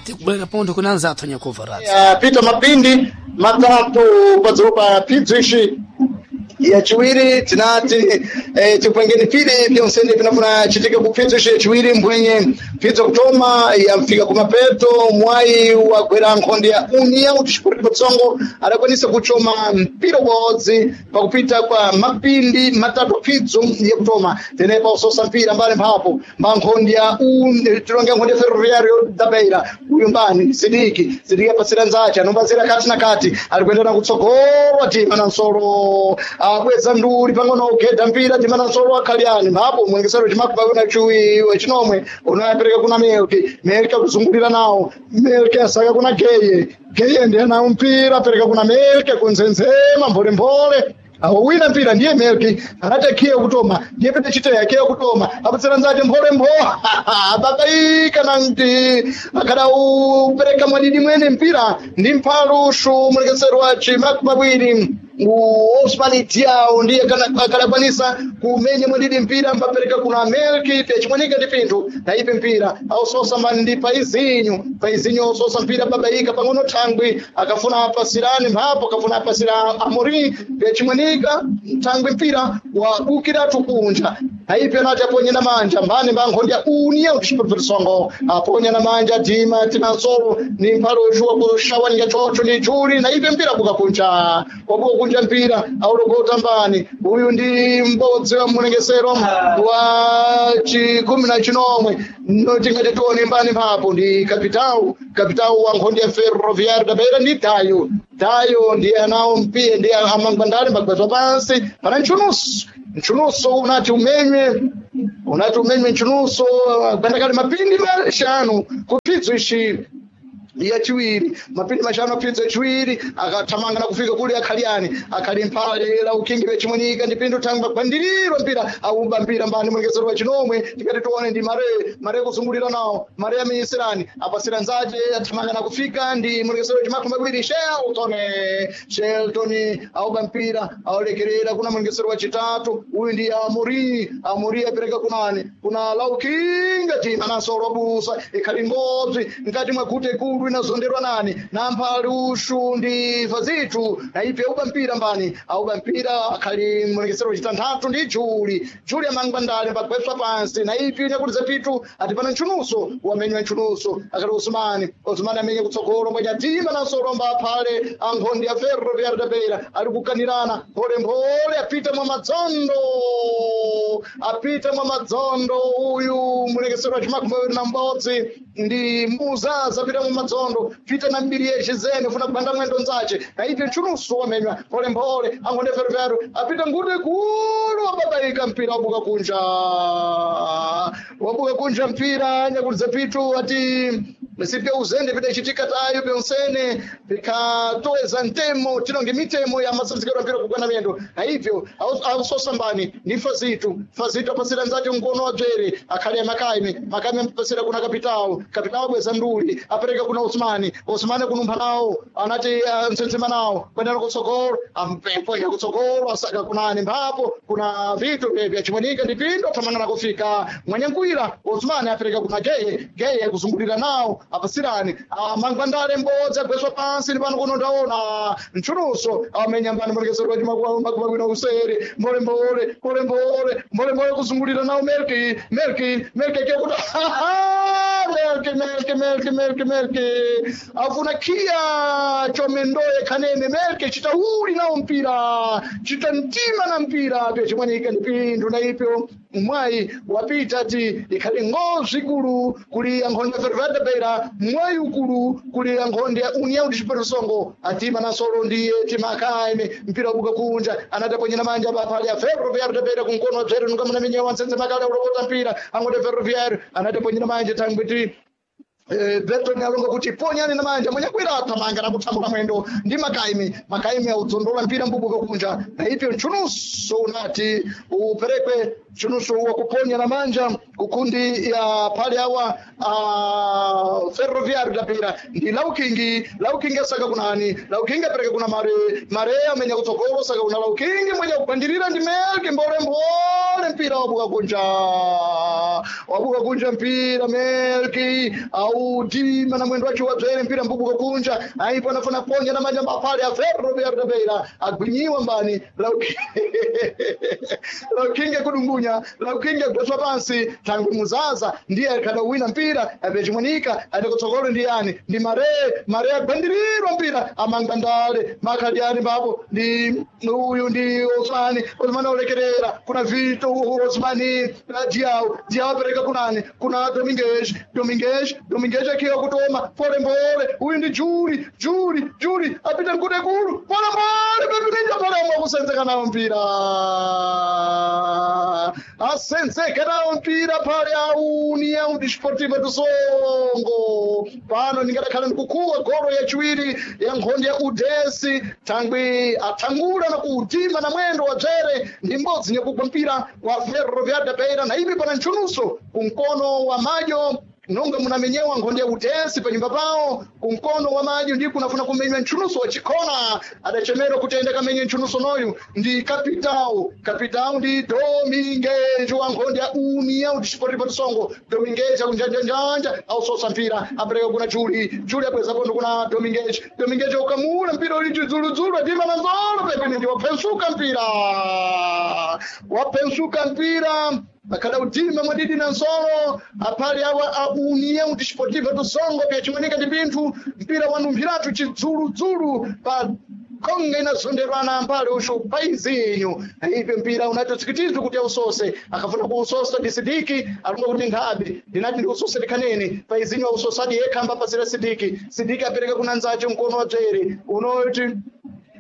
Tikubwera pontho kuna anzathu anyakuva. Yapita mapindi 3 padzulu pa phidzo ixi yachiwiri. Tinati tipwengeni pili pyonsene pinafuna chitike ku phidzo ixi yachiwiri. Mbwenye phidzo kutoma yamfika kumapeto, mwayi wagwera nkhonde ya União Desportiva de Songo, adakwanisa kuchoma mpira ubodzi pakupita kwa mapindi 3 phidzo yakutoma. Tenepa usosa mpira mbali mphapo mba nkhonde ya tilonge nkhonde ya Ferroviário da Beira. Uyu mbani? Sidiki. Sidiki apasira nzache, anombazira kati na kati, ari kuendera kutsogolo, atima na nsolo, abweza nduri pang'ono, ugedha mpira tima na nsolo akhaliani mphapo mwengesero chimakubakuna chiwi wechinomwe unoyapereka kuna Melki. Melki akuzungulira nawo, Melki asaka kuna Geye. Geye ndiye nawo mpira, apereka kuna Melki kunzenzema mbolembole. Awo wina mpira ndiye Melki, anati akhiye kutoma, ndiye pete chiteya akhiye kutoma, apatsira nzati mphole mpho babaika na mti akada upereka mwadidi mwene mpira ndi mphalushu. Mulekesero wa chimakumi mawiri Osman Diao ndiye akadakwanisa kumenya mwadidi mpira, mpapereka kuna Melki pyachimwanika ndi pinthu na ipe mpira ausosa mani ndi Paizinho. Paizinho ausosa mpira, babaika pang'ono thangwi, akafuna apasirani mphapo, akafuna apasira Amorim pyachimwanika thangwi, mpira wabukiratu kunja. Naipe anati aponye na manja mbani mba nkhonde ya União Desportiva de Songo, aponya na manja dima tinansolo ni mphalushu wakushawanika chocho ndi juli. Naipe mpira buka kunja, wabuka kunja mpira aulogota mbani? Uyu ndi mbodzi wa mulengesero wa chikumi na chinomwe, tingati tione mbani mphapo? Ndi kapitau, kapitau wa nkhonde ya Ferroviário da Beira ndi Tayo. Tayo ndiye anawo mpiye, ndiye amangwandale mbagwazwa pansi pana nchunusu. Nchunuso unati umenywe, unati umenywe nchunuso gwandakali mapindi 5 kuphidzo ishi yachiwiri, mapindi 5 aphidzo yachiwiri. Akathamanga na kufika kuli akhaliani, akhali mphale la ukingi vechimwenika ndi pindu thangwi bagwandirirwa mpira, auba mpira mbani? Mulekesero wa chinomwe, tikati tione ndi Mare. Mare kuzungulira nawo, Mare amiyisirani, apasira nzache, athamanga na kufika ndi mulekesero wa chimakumi mawiri Shelton. Shelton auba mpira, aulekerera kuna mulekesero wa chitatu, uyu ndi Amori. Amori apereka kunani? Kuna Laukinga tima nasolo busa ikhali ngobzi mkati mwa gute ikulu inazonderwa nani? Na mphali ushu ndi fazitu. Na ipe auba mpira mbani? Auba mpira akhali mulekesero wachitanthatu ndi Juli. Juli amangwandale pagwetswa pansi. Na ipi inyakuliza pitu ati pana nchunuso, wamenywa nchunuso akati Osmani. Osmani amenye kutsogolo mbwanyatima nasolomba aphale ankhonde ya Ferroviário da Beira ari kukanirana mpholemphole, apita mwa madzondo, apita mwa madzondo. Uyu mulekesero wa chimakumi mawiri na mbodzi ndi Muzaza, apita mwa madzondo, pita na mbiri yeshe zene funa kupanda mwendo nzache. Na ipi nchunuso wamenywa mpholemphole ankhonde ya Ferroviário, apita ngute kulu, wababaika mpira wabuka kunja, wabuka kunja mpira. Nyakuliza pitu ati sipya uzende pidachitika tayo pyonsene pikatoweza ntemo tinonge mitemo ya masabzikiro mpira kugwana miyendo. Na hivyo ausosambani ni Fazitu. Fazitu apasira nzati mkono wa dzwere akhali amakaime. Makaime apasira kuna kapitao. Kapitao bweza nduli, apereka kuna Osmani. Osmani kunumpha nawo, anati msensema nawo kwendana kutsogolo, amponya kutsogolo, asaka kunani mphapo? Kuna vitu vyachimwanika ndi pindo, athamangana kufika mwanyankwira Osmani, apereka kuna Geye. Geye kuzungulira nawo, apasirani mangwandale mbodzi agweswa pansi. Ndi pano kuno ndaona nchunuso amenya mbani? Mulekesero wa chimakumi usere mbolembole mbolembole mbolembole kuzungulira nawo Melki. Melki, Melki akiwa kuti Melki, Melki, Melki, Melki, Melki afuna kia chomendoye khanene. Melki chitauli nawo mpira, chita mtima na mpira pyachimwanika ndi pindu. Na ipyo mwayi wapita ti ikhali ngozi ikulu kuli ankhonde ya Ferroviário da Beira, mwayi ukulu kuli ankhonde ya União Desportiva Songo. Atima na solo ndiye timakaime mpira wabuka kunja, anataponyera manja pali ya Ferroviário da Beira kunkono wabzere nunga muna minyewa nsenze makale ulokota mpira ankhonde ya Ferroviário, anataponyera manja thangwi ti Berton alonga kuti ponyani na manja. Mwenyakwira athamanga na kuthambula mwendo ndi Makaimi. Makaimi audzondola mpira mbubuka kunja. Na ipyo nchunuso unati uperekwe nchunuso wa kuponya na manja kukundi ya pale awa Ferroviário da Beira ndi Laukingi. Laukingi asaka kunani? Laukingi apereka kuna Mare. Mare amenya kutsogolo, saka kuna Laukingi, mwenye kugwandirira ndi Melki mbolembole, mpira wabuka kunja. Wabuka kunja mpira Melki au dima na mwendo wacho wadzere mpira mbubuka kunja aipo anafuna ponya na manja mapale a Ferro da Beira agwinyiwa mbani laukinge kudungunya laukinge kudoswa pansi tangu muzaza ndiye akadawina mpira apechimwanika atakutsogolo ndi yani ndi mare mare agwandirirwa mpira amangandale makhaliani mbapo ndi uyu ndi Osmani Osmani aulekerera kuna Vito Osmani Diao Diao apereka kunani kuna Domingues Domingues Domingues akiwa kutoma pole mbole uyu ndi Juri Juri Juri apita mkude kulu pole mbole pepinja pole mbole kusenzeka nawo mpira asenzeka nawo mpira pale União Desportiva do Songo pano ndingadakhala ndikukuwa golo yachiwiri ya nkhondo ya udesi thangwi athangula na kuutima na mwendo wa dzere ndi mbodzi nyakugwa mpira wa Ferroviária da Beira na ipi pana ntchunuso kumkono wa madyo nonga munamenyewa nkhondo ya utesi panyumba pawo kumkono wa madyo ndi kunafuna kumenywa ntchunuso wa chikhona adachemerwa kuti aende kamenye ntchunuso noyu ndi kapitao kapitao ndi Domingues wa nkhondo ya União Desportiva do Songo Domingues akunjanjanjanja ausosa mpira apereka kuna Juli Juli abweza pondo kuna Domingues Domingues ukamula mpira uli chidzuludzulu adima na nzolo pepene ndi waphensuka mpira waphensuka mpira akada utima mwadidi na nsolo aphali awa a União Desportiva do Songo pyachimanika ndi pinthu mpira wanumphiratu chidzuludzulu pa konga inazonderwana mbali usho paizinyu ipe mpira unatotsikitizwa kuti ausose akafuna kuusosa ndi sidiki alonga kuti nkhabe ndinati ndiusose ndikhanene paizinyu ausosadi yekha ambapasira sidiki sidiki apereka kuna nzace mkono wa dzere unoti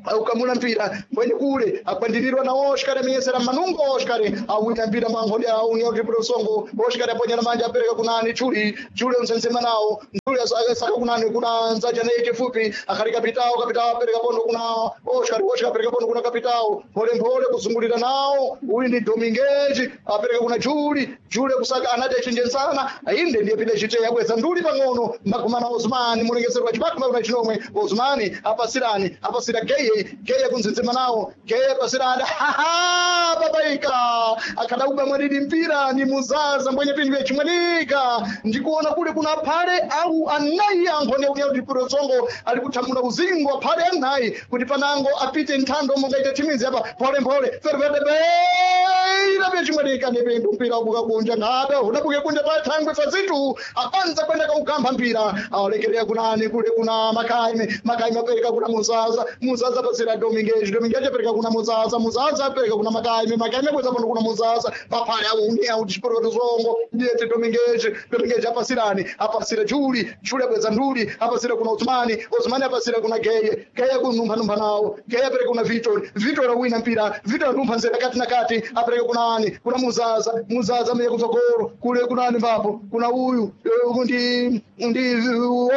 aukamula mpira mbweni kule agwandirirwa na Oscar amenyesera manungo Oscar awina mpira mwankhodi a União Desportiva do Songo Oscar aponyera manja apereka kunani Chuli Chuli unsensema nawo Chuli asaka kunani kuna nzaja naye chifupi akhali kapitao kapitao apereka pondo kuna Oscar Oscar apereka pondo kuna kapitao mpole mpole kuzungulira nawo uyu ndi Dominguez apereka kuna Chuli Chuli kusaka anati achinjensana inde ndiye pide chite yabweza nduli pang'ono magumana Osman mulengesero wa chipatuma kuna chinomwe Osman apasirani apasira Geye geye kunzenzema nawo geye pasirani babaika akadauba mwadidi mpira ni muzaza mbwenye pindu yachimwanika ndikuona kule kuna phale au anayi ankhone unya kuti songo ali kuthamula uzingo aphale anayi kuti panango apite nthando mongaita thimizi apa pole mpole fervedebeira pyachimwanika ni pindu mpira ubuka kunja ngabe udabuke kunja pa thangwe fazitu apanza kwenda kaukamba mpira awalekerera kunani kule kuna makaime makaime apereka kuna muzaza muzaza apasira Domingues Domingues apereka kuna muzaza muzaza apereka kuna makaime makaime abweza pano kuna muzaza paphale aunião Desportiva do Songo ndiyete Domingues Domingues apasirani apasira Juli Juli abweza nduli apasira kuna Osmani Osmani apasira kuna Geye Geye kunumphanumpha nawo Geye apereka kuna Vitor Vitor awina mpira Vitor anumpha nzera kati na kati apereka kuna ani kuna muzaza muzaza ameye kutsogolo kule kuna ani mbapo kuna uyu ndi ndi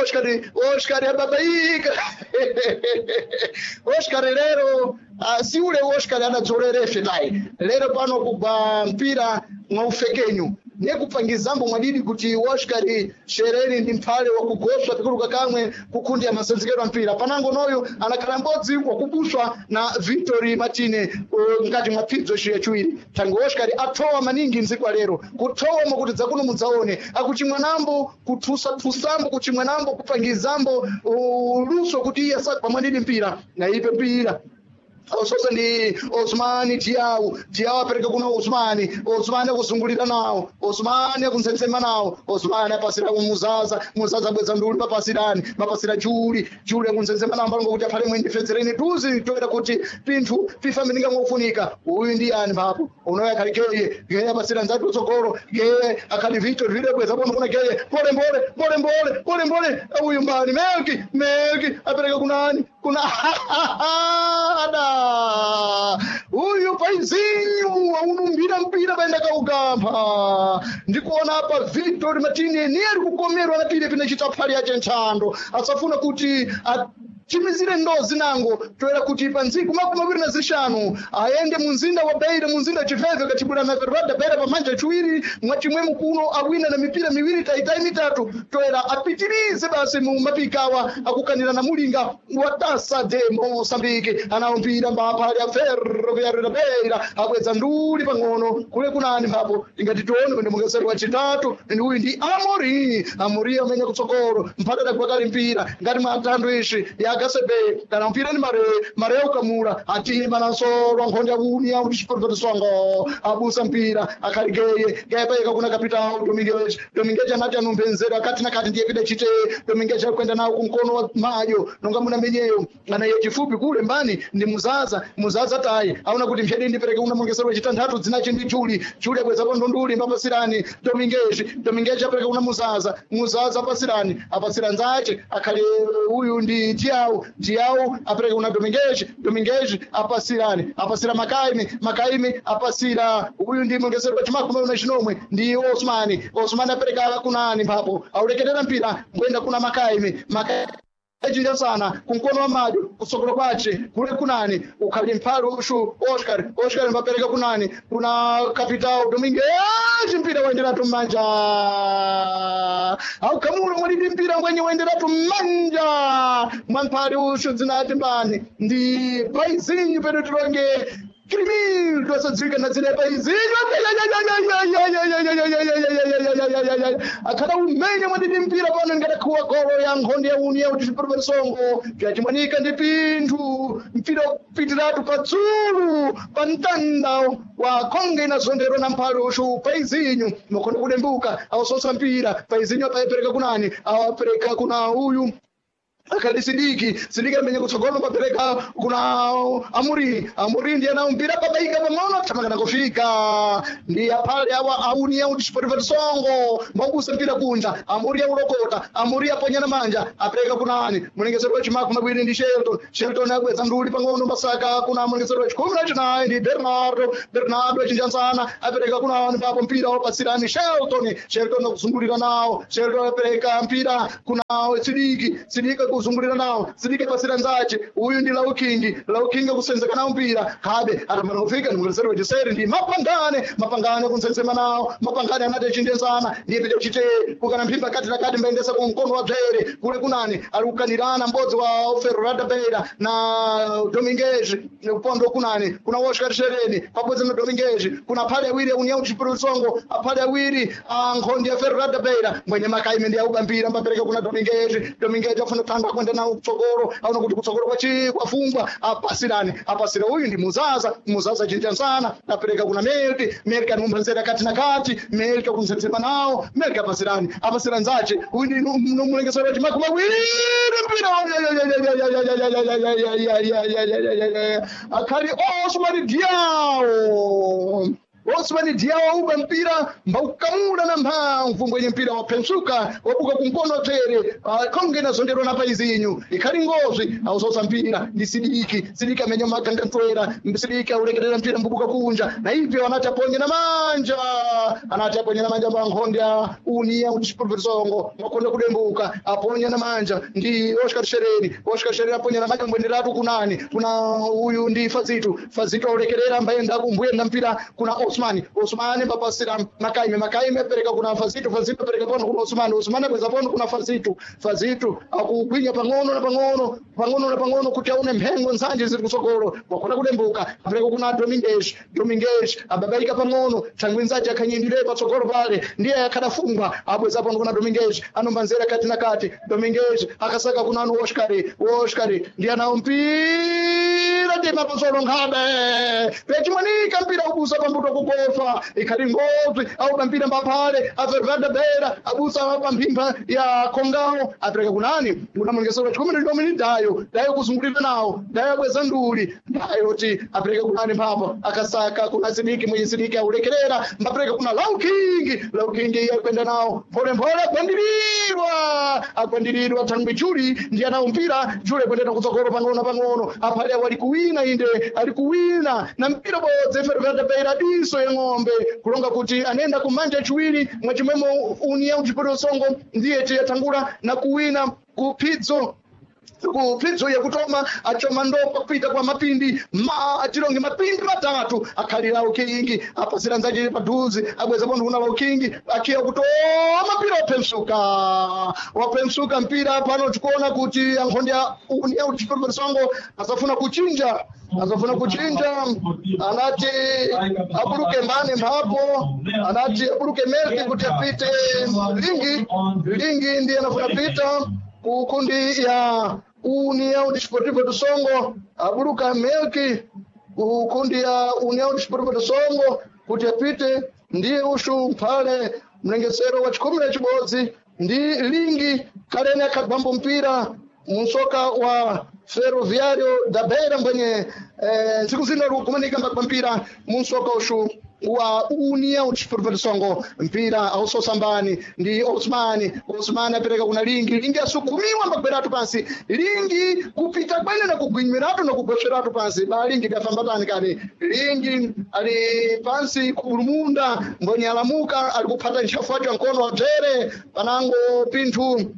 Oscar Oscar ababaika Oscar lero si ule Oscar anadzolerefe naye lero pano kugwa mpira mwaufekenyu nekupangizambo mwadidi kuti Oscar shereni ndi mphale wakugoswa pikuluka kamwe kukundi ya masenzekero mpira panango noyo anakhala mbodzi wakubuswa na Victor Martine ngati mwa pfidzo yachiwiri tango Oscar athowa maningi mdziko lero kuthowa mwakuti dzakuno mudzaone akuchimwanambo kuthusa-thusambo kuchimwanambo kupangizambo luso kuti iye asagwa mwadidi mpira na ipe mpira ososa ndi Osmani Diao Diao apereka kuna Osmani Osmani akuzungulira nawo Osmani akunsensema nawo Osmani apasira kumuzaza muzaza bweza nduli papasirani mapasira Juli Juli akunsensema nawo mbalongo kuti aphale mwendifedzereni tuzi toera kuti pinthu pifamininga mwakufunika uyu ndi yani mphapo unoyo akhali geye geye apasira nzati utsogolo geye akhali Victor Victor bweza pono kuna geye pole mbole pole mbole pole mbole uyu mbani Melki Melki apereka kunani kuna ada uyu paizinyu aunumbira mpira paenda kaukampha ndikuona apa Victor Martini niye ari kukomerwa na pile pine chitapfali yache nthando asafuna kuti Chimizire ndozi nango toera kuti pa ntsiku 25 ayende mu mzinda wa Beira, mu mzinda Chiveve, katibula na Ferroviária Beira pamanja chiwiri mwachimwemo kuno awina na mipira miwiri taitai mitatu, toera apitirize basi mu mapikawa akukanira na mulinga wa Taça de Moçambique. Anawo mpira mbapha ya Ferroviária da Beira abweza nduli pang'ono kule kunani mphapo ingati tione kwende mungeseri wa chitatu ndi uyu ndi Amori. Amori amenya kutsogolo mphata adagwakali mpira ngati mwa athandu ishi ya Gasebe kana mpira ni mare mare ukamula atima nansolo nkhonde uni au chiporofetisongo abusa mpira akhaligeye gayapayeka kuna kapitao Dominguez. Dominguez anati anumpenzera akati na kati ndiye pida chite. Dominguez akwenda nawo kumkono wa mayo nonga muna menyeyo anaye chifupi kule mbani ndi muzaza. Muzaza tayi aona kuti mphedi ndipereke una mungesero wachitanthatu dzinachi ndi Juli. Juli abwezapo ndunduli mbapasirani Dominguez. Dominguez apereka kuna muzaza. Muzaza apasirani apasira nzache akhale uyu ndi Tiau. Tiau apereka kuna Dominguez. Dominguez apasirani apasira Makaimi. Makaimi apasira uyu ndi mungesero wa chimakumi na chinomwe ndi Osmani. Osmani apereka kunani mphapo aulekerera mpira ngwenda kuna Makaimi. Makaimi echinja sana kumkono wa madyo kusokolo kwace kule kunani ukhali mphali ushu Oscar. Oscar mbapereka kunani kuna kapitao Dominguez mpira waenderatu mmanja aukamula mwalidi mpira ngwenye waenderatu mmanja mwa mphali ushu dzinati mbani ndi paizinyu pedu tilonge Crimildo asadziwika na dzina paizinyu akhala umene mwandidi mpira pano ingadakhuwa golo ya nkhonde ya uni ya utichipereperesongo vyachimwanika ndi pinthu mpira kupitiratu patsulu pa mtanda wa khonge inazonderwa na mphalo ushu paizinyu makhonde kudembuka awasonsa mpira paizinyu apayepereka kunani awapereka kuna uyu akali Sidiki. Sidiki amenye kutsogolo papereka kuna Amuri. Amuri ndiye ana mpira pabaika pang'ono thamangana kufika ndi apale awa auni ya uchiporifetisongo maubusa mpira kunja. Amuri aulokota. Amuri aponyana manja apereka kunani mulengesero wa chimaku mawiri ndi Shelton. Shelton abweza nduli pang'ono masaka kuna mulengesero wa chikumi na chinayi ndi Bernardo. Bernardo achinjansana apereka kunani papo mpira wapasirani Shelton. Shelton akuzungulira nawo. Shelton apereka mpira kuna Sidiki. Sidiki kuzungulira nawo. Sidiki pasira nzache uyu ndi Laukingi. Laukingi kusenzeka nawo mpira habe atamana kufika ndi mulengesero wachiseri ndi Mapangane. Mapangane kunsensema nawo. Mapangane anati achindensana ndiye pita kuchite kukana mphimba kati na kati mbaendesa ku mkono wa bzere kule kunani ali kukanirana mbodzi wa Ferroviária Beira na Dominguez upondo kunani kuna Oscar Shereni pabodzi na Dominguez kuna phale awiri união chipulusongo aphale awiri a nkhondi ya Ferroviária Beira mwenye makaime ndi auba mpira mbapereka kuna Dominguez. Dominguez afuna tanga kwenda nawo kutsogolo aona kuti kutsogolo kwachi kwafungwa apasirani apasira uyu ndi Muzaza. Muzaza chinja sana apereka kuna Melki. Melki anumbanzera kati na kati. Melki akunzetsema nawo. Melki apasirani apasira nzache uyu ndi nomulengesero wa chimakumi awiri mpira akhali Osman Diao. Osman Diao auba mpira mbaukamula na mphamvu ngwenye mpira waphensuka wabuka kumkono tere khonge inazonderwa na paizinyu ikhali ngozi ausosa mpira ndi Sidiki. Sidiki amenya magangantwera. Sidiki aulekerera mpira mbubuka kunja na ibyo anati aponye na manja anati aponye na manja pankhonde ya uni ya uchiprofesongo makonde kudembuka aponye na manja ndi Oscar Shereni. Oscar Shereni aponye na manja mbwenderatu kunani kuna uyu ndi Fazitu. Fazitu aulekerera mbayenda kumbuyenda mpira kuna Osmani. Osmani mbapasira Makaime. Makaime apereka kuna Fazitu. Fazitu apereka pano kuna Osmani. Osmani abweza pano kuna Fazitu. Fazitu akugwinya pang'ono na pang'ono pang'ono na pang'ono kuti aone mphengo nzanje ziri kutsogolo wakona kudembuka apereka kuna Dominguez. Dominguez ababaika pang'ono thangwi nzaje akhanyindire patsogolo pale ndiye akhadafungwa abweza pano kuna Dominguez anombanzera kati na kati. Dominguez akasaka kuna anu Oscar. Oscar ndiye anawo mpira ndi mapasolo nkhabe pechimwanika mpira ubusa pambuto kugofa ikhali ngozi auba mpira mbaphale afervada bera abusa pamphimba ya khongawo apereka kunani kuna mulengesero chikumi ndi domini dayo dayo kuzungulira nawo dayo abweza nduli dayo ti apereka kunani mphapo akasaka kuna Sidiki mwenye Sidiki aulekerera mbapereka kuna Laukingi. Laukingi akwenda nawo mpholemphole agwandirirwa agwandirirwa thangwi Juli ndiye anawo mpira. Juli akwendera kutsogolo pang'ono pang'ono aphale awo ali kuwina inde ali kuwina na mpira bodzi Ferroviária Beira diso ya ng'ombe kulonga kuti anenda kumanja chiwiri mwachimwemo união chipoto songo ndiye tiyatangula na kuwina kuphidzo Kupfidzo yekutoma achoma ndopa kuita kwa mapindi ma atilonge mapindi matatu akhalira ukingi apasira nzache padhuze abweza pontho kuna ukingi akhiya kutoma mpira wapemsuka, wapemsuka mpira. Pano tikuona kuti ankhonde a União Desportiva Songo azafuna kuchinja, azafuna kuchinja. Anati abuluke mbane mphapo, anati abuluke Melki kuti apite Lingi. Lingi ndiye anafuna pita kukundi ya União Desportiva do Songo, abuluka Melki kukundi ya União Desportiva do Songo kuti apite ndiye ushu mphale mlengesero wa chikumi na chibodzi ndi Lingi kalene akhagwambo mpira munsoka wa Ferroviário da Beira mbwenye ntsiku zino likumanika mbagwa mpira munsoka ushu wa União Desportiva do Songo. Mpira ausosambani ndi Osmani. Osmani apereka kuna Lingi. Lingi asukumiwa mbagweratu pansi. Lingi kupita kwene na kugwinyiratu na kugwesweratu pansi ba Lingi kafamba tani kani. Lingi ali pansi kulumunda mbwenye alamuka ali kuphata ntchafu wacho mkono wa bzere panango pinthu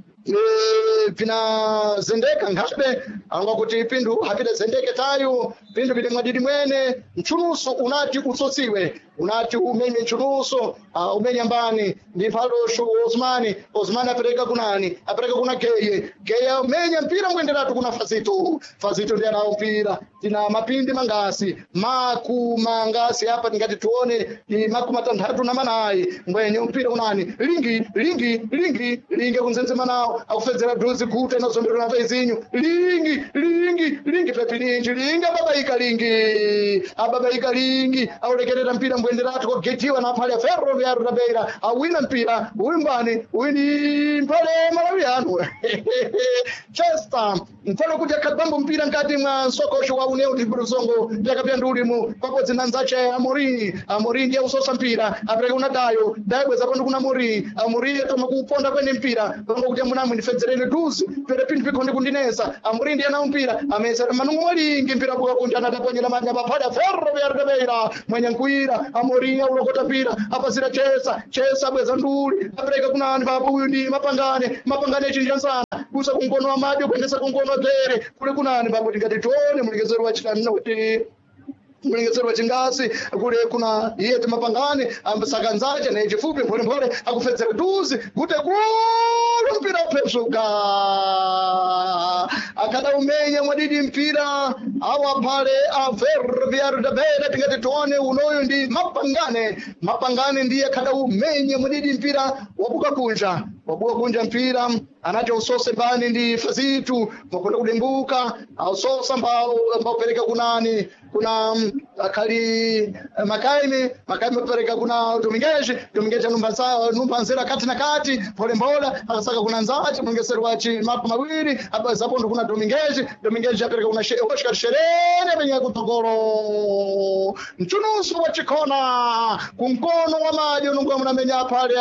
vinazendeka nkhabe anga kuti pinthu hapita zendeke tayo pinthu pili mwadidi mwene. Mchuluso unati utsosiwe, unati umenye mchuluso, umenye mbani ndi mphaloshu Osmani. Osmani apereka kunani? Apereka kuna Geye. Geye umenya mpira mwenderatu kuna Fazito. Fazito ndiye anawo mpira. Tina mapindi mangasi maku mangasi apa tingati tuone ni 64 mbwenye mpira unani Lingi. Lingi, Lingi, Lingi akunzenzema nawo akufedzera dhuzi guta inazonderera na vaizinyu. Lingi, Lingi, Lingi pepilinji. Lingi ababaika, Lingi ababaika, Lingi aulekerera mpira mbwenderatu kogetiwa na phale Ferroviário da Beira awina mpira uyu mbani uyu ndi mphale Malawiano Chester mphale kuti akhagwambo mpira nkati mwa msokosho wa União Desportiva Songo yakapya ndiulimu pabodzi na nzache Amorim. Amorim ndiye usosa mpira apereka kuna Dayo. Dayo bweza pano kuna Amorim. Amorim atoma kuuponda kwene mpira pango kuti amunamwe ndifedzereni duzi pere pinthu pikhonde kundinesa. Amorim ndiye nawo mpira amesera manungo mwalingi mpira buka kunja anataponyera manja paphada Ferroviário da Beira mwenye nkuira. Amorim aulokota mpira apasira Chesa. Chesa bweza nduli apereka kunani papo uyu ndi Mapangane. Mapangane achinja nsana kusa kunkono wa madyo kuendesa kunkono wa dzere kule kunani papo tingati tione mulekezero wa chitanu kuti mulengesero wa chingasi kule kuna iye timapangane ambasakanzache naye chifupi mpholemphole akufedzera duzi kuti kulu mpira uphesuka akada umenya mwadidi mpira awa phale a Ferroviário da Beira. Tingati tione unoyu ndi Mapangane. Mapangane ndiye akada umenya mwadidi mpira wabuka kunja, wabuka kunja mpira. Anati usose mbani ndi Fazitu makonda kudimbuka ausosa mbao mbaupereka kunani kuna akhali Makaime. Makaime apereka kuna Dominguez. Dominguez anumba nzera kati na kati polembola akasaka kuna nzache mwengesero wachi mapo mawiri abazapondo kuna Dominguez. Dominguez apereka kuna Oscar Sherene benye kutogoro mchunusu wa chikona kunkono wa maji unongo munamenya pale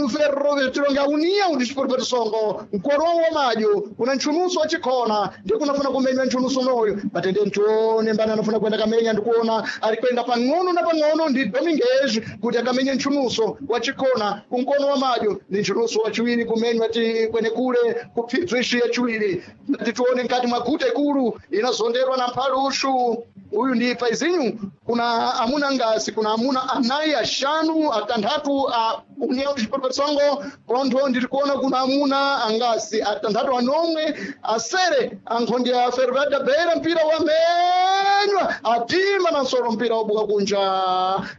Ferro tilonga União Desportiva do Songo mkono wa maji kuna mchunusu wa chikona ndi kunafuna kumenya mchunusu unoyo batende ntione mbani anafuna kwenda kamenya ndikuona alikwenda pang'ono na pang'ono ndi Dominguez kuti akamenye mchunuso wa chikona kunkono wa madyo ni mchunuso wa chiwiri kumenywa ti kwene kule kupfidzo ishi ya chiwiri titione nkati mwa guta ikulu inazonderwa na mphalushu uyu ndi paizinyu kuna amuna ngasi kuna amuna anayi ashanu atanthatu a União Desportiva Songo pontho ndiri kuona kuna amuna angasi atanthatu anomwe asere ankhonde ya Ferroviário da Beira mpira wamenywa atima na nsolo mpira wabuka kunja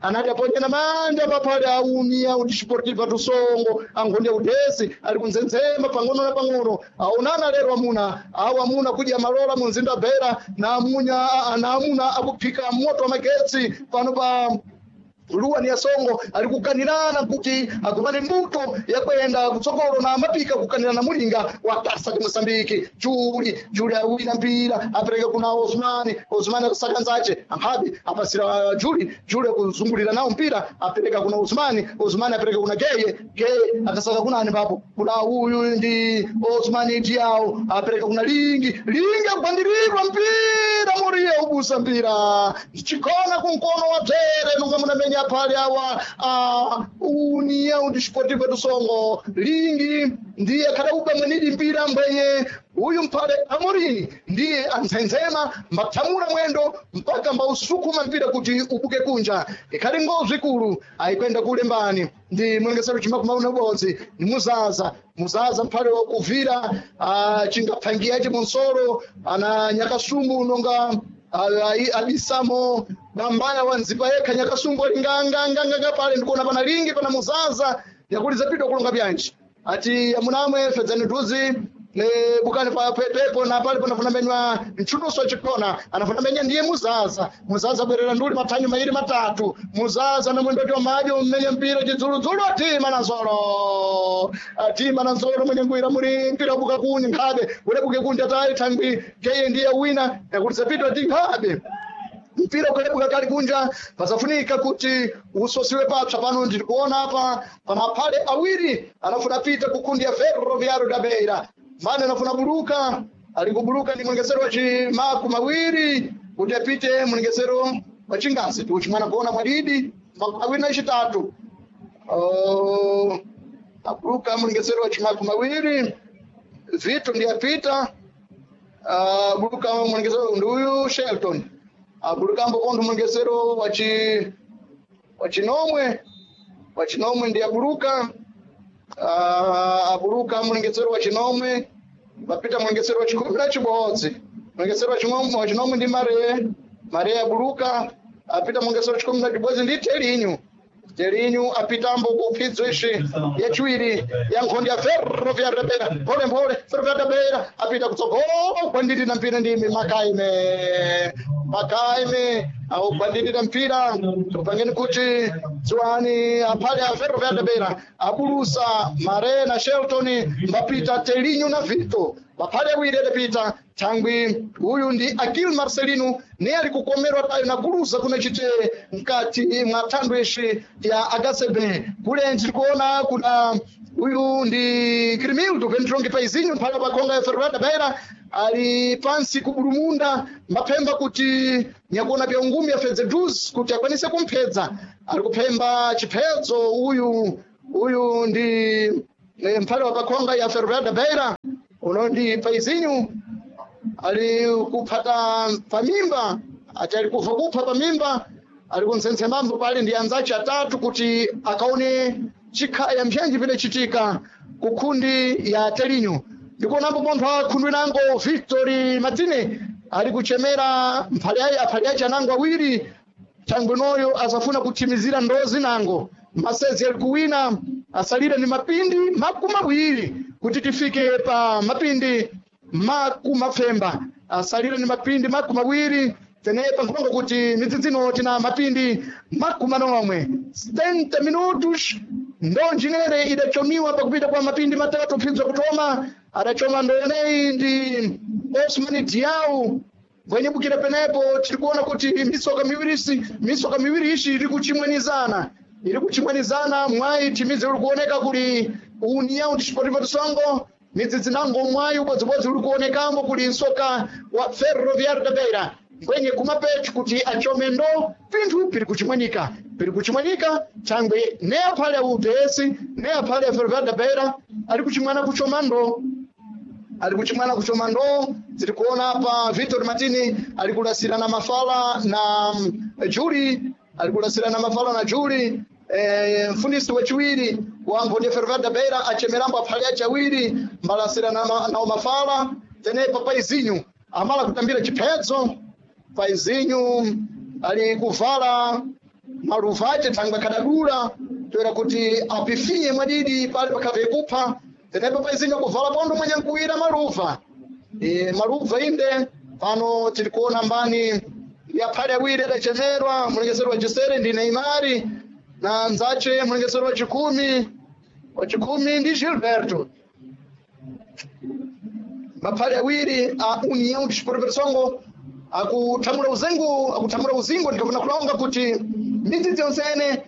anati aponyera manja paphale a União Desportiva do Songo ankhonde ya udesi ali kunzenzema pang'ono na pang'ono aonana lero amuna awo amuna kudya malola mu mzinda wa Beira na amunya na amuna akuphika moto wa magetsi pano pa luwa ni asongo ali kukanirana kuti agumane mbuto yakwenda kutsogolo na mapika kukanirana mulinga wa tasa ti Mosambiki. Juli, Juli awina mpira apereka kuna Osmani. Osmani akusakanzache amphabi apasira Juli. Juli akuzungulira nawo mpira apereka kuna Osmani. Osmani apereka kuna Geye. Geye akasaka kunani papo kuna uyu ndi Osmani Diao apereka kuna Lingi. Lingi akugwandirirwa mpira Moria ubusa mpira chikona kunkono wa Bzere nunga munamenya Amenya pale awa União Desportiva do Songo. Lingi ndiye kadauba mwenidi mpira mbwenye uyu mpale Amorini ndiye anzenzema mbathamula mwendo mpaka mbausukuma mpira kuti ubuke kunja. Ikhali ngozi ikulu ayikwenda kule mbani ndi mulengesero chimakumauna ubodzi ni Muzaza. Muzaza mphale wakuvira chingaphangiyace munsoro ana Nyakasumbu nonga abisamo bambaya wanzipa yekha. Nyakasumbu ali nganganganga pale ndikuona pana Lingi, pana Muzaza yakuliza pito kulonga byanji ati amunamwe fedzani duzi ne bukani pa pepo na pale panafuna menywa mchuduso chikona anafuna menya ndiye Muzaza. Muzaza bwerera nduli mathanyu mairi matatu. Muzaza na mwendo wa majo mmenye mpira chidzuludzulu atima na nsolo, atima na nsolo mwenye ngwira muri mpira buka kunyi nkhabe ulebuke kunja tayi thangwi keye ndiye wina yakulisa pito ati nkhabe mpira ukalebuka kali kunja pasafunika kuti usosiwe papsa. Pano ndikuona apa pamaphale awiri anafuna pita kukundi ya Ferroviário da Beira mane anafuna buluka ali kubuluka ndi mwengesero wa chimaku mawiri kuti apite mwengesero wa chingazi tuchimwana kuona mwadidi 23. Oh, abuluka mwengesero wa chimaku mawiri Vitu ndiye apita buluka mwengesero nduyu Shelton abulukambo kontho mwengesero wachinomwe wachinomwe ndi abuluka abuluka mlengesero wa chinomwe vapita mlengesero wa chikumi na chibodzi. Mlengesero wa chinomwe ndi Mare. Mare abuluka apita mlengesero wa chikumi na chibodzi ndi Telinyu. Telinyu apitambo kuphidzo ishi yachiwiri ya nkhondo ya Ferroviário da Beira. Mphole mphole Ferroviário da Beira apita kutsogolo kwandiri na mpira ndimi Makaime. Makaime augwandirira mpira tupangeni kuti dziwani aphale a Ferroviário da Beira abulusa Mare na Shelton mbapita Telinyu na Vito baphale awiri adapita thangwi uyu ndi Akil Marcelino ne ali kukomerwa tayo na kuluza kuna chite mkati mwa thandu ishi ya HCB. Kule ndikuona kuna uyu ndi Crimildo Pentrongi paizinho mphala pakhonga ya Ferroviário da Beira ali pansi kubulumunda mbaphemba kuti nyakuona pya ungumi afedze duzi kuti akwanise kumphedza ali kuphemba chiphedzo uyu uyu ndi mphale wa pakhonga ya Ferroviário da Beira uno ndi paizinho ali kuphata pamimba ati ali kuva kupha pamimba ali kunsentsemambo pali ndi anzace atatu kuti akaone chikhaya mphenji pidachitika ku khundi ya Telinyo. Ndikuonambo pontho akhundwi nango Victor Martine ali kuchemera aphale ace anango awiri thangwi noyo asafuna kuthimizira ndozi nango masezi ali kuwina asalire ni mapindi 20 kuti tifike pa mapindi makumapfemba asalire ni mapindi 20 tenepa nkulonga kuti midzidzino tina mapindi 40 70 minutos ndonjinere idachomiwa pakupita kwa mapindi 3 phinzo kutoma adachoma ndoneyi ndi Osman Diau bwenyebukira penepo tirikuona kuti misoka miwiri isi misoka miwiri ishi iri kuchimwenizana iri kuchimwenizana mwayi timizi uri kuoneka kuli União Desportiva do Songo midzidzi nango mwayi ubodzibodzi uri kuonekambo kuli msoka wa Ferroviário da Beira mbwenye kumapechu kuti achome ndo pinthu piri kuchimwenika piri kuchimwenika thangwe ne aphale a UDS ne aphale a Ferroviário da Beira ali kuchimwana kuchoma ndo ali kuchimwana kuchoma ndo. Tiri kuona apa Victor Martini ali kulasirana mafala na Juli ali kulasirana mafala na Juli mfundisi wachiwiri wa mboni ya Ferroviário da Beira achemerambo aphale ace awiri mbalasirana nawo mafala tenepa paizinho amala kutambira chiphedzo paizinho ali kuvala maluva ace thangwe akadadula toera kuti apifinye mwadidi pale pakhave kupha tenepa paizinho kuvala pondo mwenye nkuwira maluva maluva inde pano tiri kuona mbani ya phale awiri adachemerwa mulengesero wa chisere ndi Neymari na nzache mulengesero wa chikumi ndi Gilberto maphale awiri a União Desportiva do Songo akuthamula uzengu akuthamula uzingo ndikafuna kulonga kuti midzidzi yonsene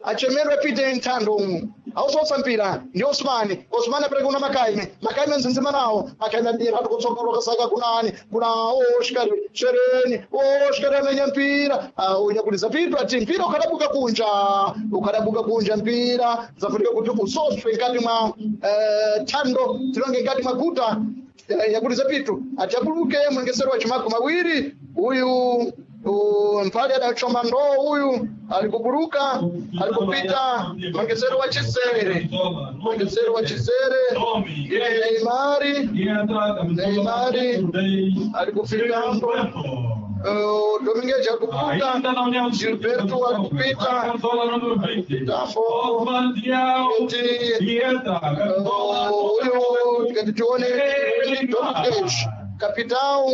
achemerwe apite nthando umu. Ausosa mpira ndi Osmani. Osmani apereka kuna Makaime. Makaime nzinzima nawo. Makaime adira kutsogolo kasaka kunani kuna Oscar Shereni. Oscar amenya mpira. Unyakuliza pitu ati mpira ukadabuka kunja. Ukadabuka kunja mpira. Zafunika kuti usoswe nkati mwa tando tilonge nkati mwa guta yakuliza pitu ati abuluke mwengesero wa chimako mawiri uyu mpali adachoma ndoo uyu alikubuluka alikupita mwengesero wa chisere mwengesero wa chisere Neymari Neymari alikufika hapo Domingues alikupita Gilberto alikupita hapo huyu tikati tuone Domingues kapitao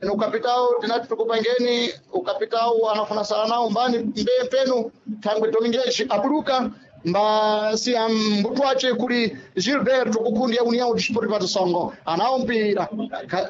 no ukapitao tinati tukupangeni ukapitao anafuna sala nao mbani mbe penu thangwe Domingues abuluka mbasi ambutwache kuli Gilberto kukundi ya União Desportiva do Songo anawo mpira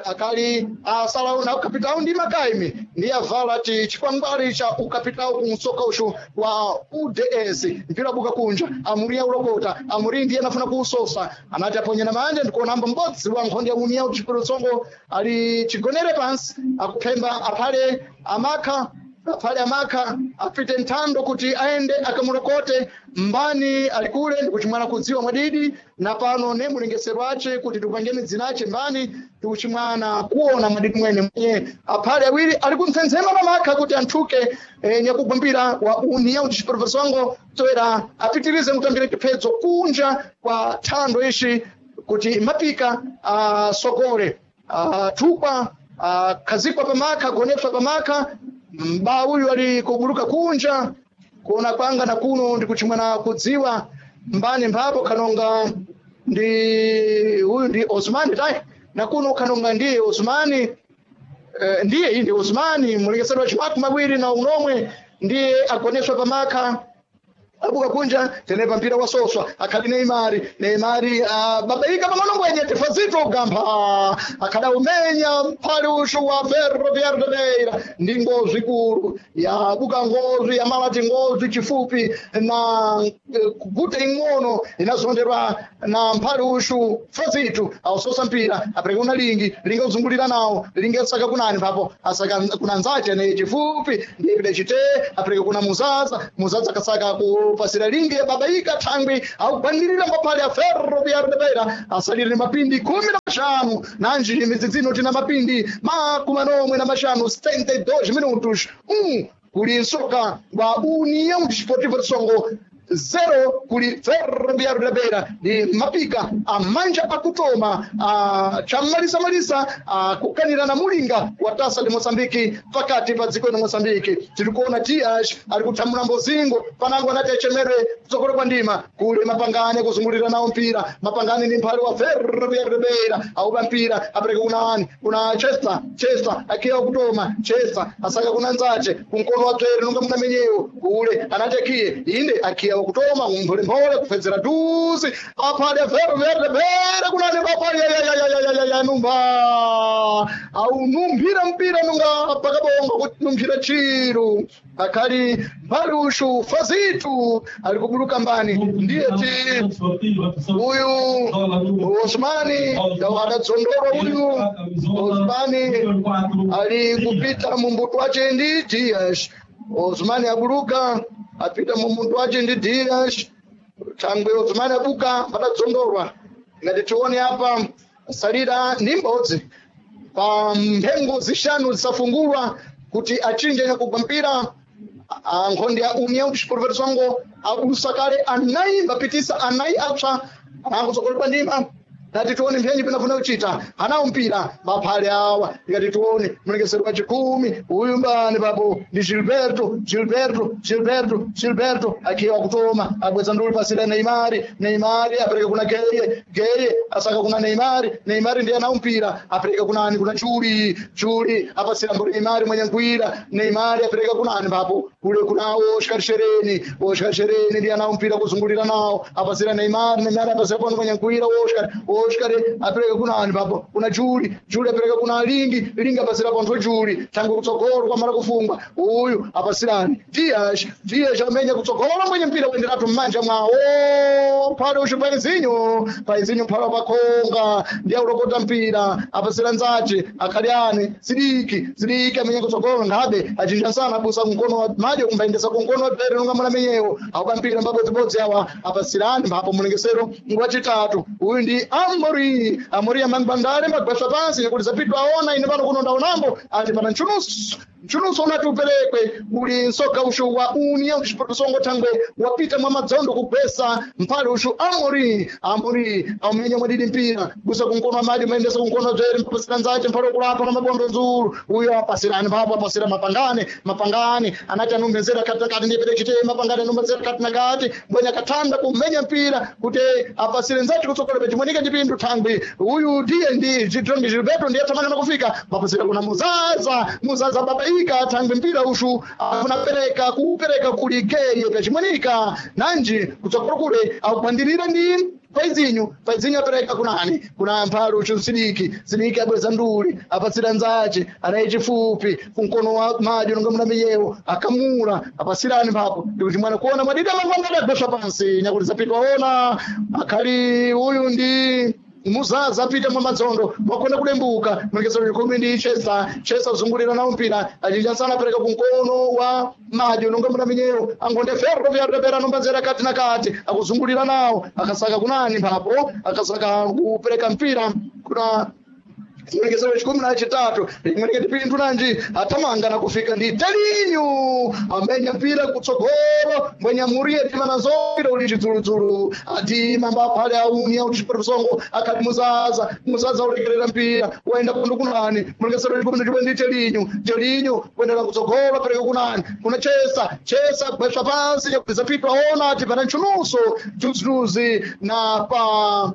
akali asala na ukapitao ndi Makaime ndi avala ti chikwangwali cha ukapitao kumsoka ushu wa UDS mpira buka kunja amuria ulokota amuri ndiye anafuna kuusosa anati aponye na manja ndikuona mbo mbodzi wa nkhondo ya União Desportiva do Songo ali chigonere pansi akuphemba aphale amakha aphale amakha apite nthando kuti aende akamulokote mbani alikule ndikuchimwana kudziwa mwadidi na pano ne mulengesero ace kuti tikupangeni dzina ace mbani tikuchimwana kuona mwadidi mwene mwenye aphale awiri ali kumtsenzema pamakha kuti anthuke nyakugwambira wa União Desportiva Songo toera apitirize kutambira chiphedzo kunja kwa thando ishi kuti mapika asokole athukwa akhazikwa pamakha agonepsa pamakha mba uyu ali kubuluka kunja kuona kwanga na kuno ndikuchimwana kudziwa mbani mphapo kanonga ndi uyu ndi Osmani tai na kuno kanonga ndiye Osmani ndiye iyi ndi Osmani mulengesero wa chimaku mawiri na unomwe ndiye agoneswa pamakha abuka kunja tenepa mpira wasoswa akhali Neymari Neymari babaika pang'ono tifazito ugampha akhada umenya mphali ushu wa Ferroviário de Beira ndi ngozi ikulu yabuka ngozi yamalati ngozi chifupi na kuguta ing'ono inazonderwa na mphali ushu Fazito ausosa mpira apereka una lingi lingi uzungulira nawo lingi asaka kunani papo asaka kuna nzache ne chifupi ndiye chite apereka kuna muzaza muzaza akasaka ku pasira lingi babaika thangwi akugwanirira mbaphale ya Ferroviário de Beira asalire mapindi 15 nanji midzidzino tina mapindi 45 72 minutos 1 kuli nsoka wa União Desportiva de Songo 0 kuli Ferroviário de Beira ndi mapika amanja akutoma chamalisamalisa akukanira na mulinga wa tasa de Moçambique pakati pa dziko la Moçambique tirikuona Dias ari kuthamula mbozingo panango anati achemere kutsogolo kwa ndima kule mapangane kuzungulira nawo mpira mapangane ndi mphale wa Ferroviário de Beira auba mpira apereka kuna ani kuna Chester Chester akiya kutoma Chester asaka kuna nzache kumkono wa tswere nunga muna menyewo kule anati akiye inde akiya kutoma mpholemphole kupfedzera duzi aphale Ferroviário de Beira kunani aphale ya numba au numphira mpira nunga pakabonga kuti numphira chiru akhali mphalushu fazitu ali kubuluka mbani ndiye ti uyu Osmani adadzondorwa uyu Osmani ali kupita mumbuto wace ndi Dias Osmani abuluka apita mumuntu wace ndi Dias thangwe Osmani abuka padadzondorwa ngati tione apa salira ndi mbodzi pa mphengo zishanu zisafungulwa kuti achinje nyakugwa mpira nkhondo ya União Desportiva de Songo abulusa kale anayi mbapitisa anayi apsa anangotsogolo pa ndima tati tione mphenyi pinafuna kuchita anawo mpira maphale awa tikati tione mlengesero wa chikhumi uyu mbani papo ndi Gilberto Gilberto Gilberto Gilberto akiwa kutoma abweza ndulu pasira Neymari Neymari apereka kuna Geye Geye asaka kuna Neymari Neymari ndiye anawo mpira apereka kuna ani kuna Chuli Chuli apasira mbori Neymari mwenye ngwira Neymari apereka kuna ani papo kule kuna Oscar Shereni Oscar Shereni ndiye anawo mpira kuzungulira nawo apasira Neymari Neymari apasira pano mwenye ngwira Oscar Oscar apereka kuna ani papo kuna Juli, Juli apereka kuna Lingi, Lingi apasira pontho Juli, tangu kutsogolo kwamala kufungwa uyu apasirani Dias, Dias amenya kutsogolo mwenye mpira kuenderatu mmanja mwawo pale ushu paizinyo, paizinyo phala pakhonga ndiye ulokota mpira apasira nzace akhaliani Sidiki, Sidiki amenya kutsogolo ngabe achinja sana abusa mkono wa madyo kumbayendesa kumkono wa pere nonga mwana menyewo auka mpira mbabodzibodzi awa apasirani mphapo mulengesero ngwachitatu uyu ndi Amori, Amori amangwandale mbagwasha pansi nekuti zapitwa aona ine pano kuno ndaonambo ati pana nchunusu nchunusu unati uperekwe uli nsoka ushu wa União Desportivo Songo thangwe wapita mwa madzondo kugwesa mphale ushu Amori, Amori aumenya mwadidi mpira busa kunkono amadi maendesa kunkono dzere mpapasira nzace mphale ukulapa na mabondo nzulu uyo apasirani mphapo apasira mapangane, mapangane anati anumbezera kati na kati ndiye pere chite mapangane anumbezera kati na kati mbwenya akathanda kumenya mpira kuti apasire nzace kutsogolo pechimwenika chipindu thangwi uyu ndiye ndi chitrongi Gilberto ndiye athamanga kufika mapasira kuna Muzaza, Muzaza babaika thangwi mpira ushu akunapereka kuupereka kulikeye pechimwenika nanji kutsogolo kule akuphandirira ndi paizinyo, paizinyo apereka kunani kuna mphalu ushu Sidiki, Sidiki abweza nduli apatsira nzace anaye chifupi kumkono wa madyo nonga muna miyewo akamula apasirani mphapo ndikuti mwana kuona mwadida mangwangada agweswa pansi nyakuti zapitwa ona akhali uyu ndi Muzaza apita mwa madzondo wakona kudembuka mulekesero likhumi ndi Chesa, Chesa uzungulira nawo mpira achinja sana apereka kumkono wa madyo nonga muna minyewo angonde ferro vyarepera nombazera kati na kati akuzungulira nawo akasaka kunani mphapo akasaka kupereka mpira kuna mulekesero chikumi na chitatu limweleketi pindu nanji atamanga na kufika ndi Telinyu amenya mpira kutsogolo mbwenya muriye tima nazo mpira uli chidzuludzulu ati mamba phale auni au chipetusongo akhali Muzaza, Muzaza ulekerera mpira waenda kundu kunani mulekesero chikumi na chimwe ndi Telinyu, Telinyu kuendera kutsogolo apereka kunani kuna Chesa, Chesa gweswa pansi nyakupizapitwa ona ati pana nchunuso dzudzuzi na pa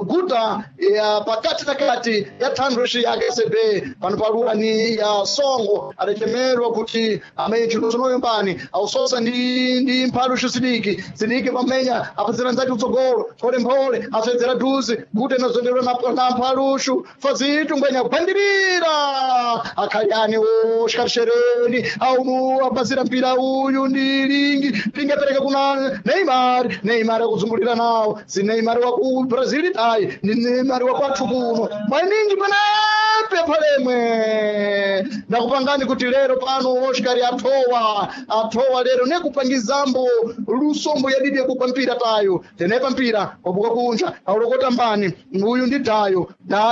guta ya pakati na kati ya thandweshi ya KCB pano paluwa ni ya Songo adachemerwa kuti amenye chiluso noyombani ausosa ndi mphalu Sidiki, Sidiki pamenya apazira nzati utsogolo mphole mphole aswedzera dhuzi guta inazonderwa na mphalushu fazitu ngwenya kuphandirira akhaliani oshikarishereni aunu apazira mpira uyu ndi Lingi, Lingi apereka kuna Neymar, Neymar akuzungulira nawo si Neymar wa ku Brazil ayi ni Neymar wa kwathu kuno mwaninji mwanape phalemwe ndakupangani kuti lero pano Oscar athowa, athowa lero nekupangizambo lusombo yadidi yakugwa mpira tayo tenepa mpira wabuka kunja aulokota mbani uyu ndi tayo.